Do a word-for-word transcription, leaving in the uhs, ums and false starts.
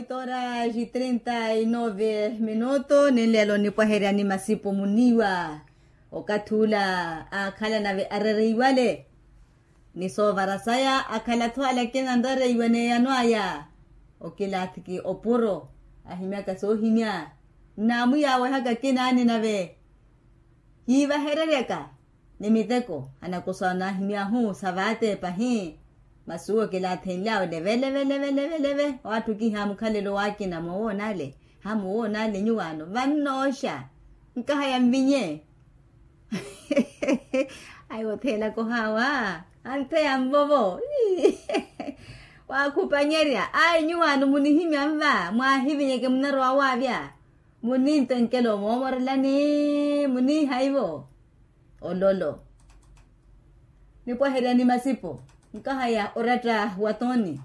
Toras trinta y nove minuto ni nlelo nipwaheryani masipo muniiwa. Okathi ula aakhala nave arereiwale ni soovara saya akhala-tho ale akina anrereiwa n'eyano aya. Okilaathiki opuro ahimyaka soohimya nnaamuyawehaka akinaani nave kiivahereryaka ni miteko anakosa naahimyahu sa vaateepa hi. Masi uwo kilaathenlyawe leve leve leve leve leve. Waatthu kihaamukhalelo waakina moowoona ale hamuwoona ale nyuwaano vannooxa nkahaya nvinye. Ayi otheelaka ohaawa antheya nvovo. Waakhupanyerya ayi nyuwaano munihimya nva mwaahivinyeke munarowa waavya. Munintenkela omoomorelani muniihaivo ololo. Nipwaheryani masipo nkahaya oratta wa toni.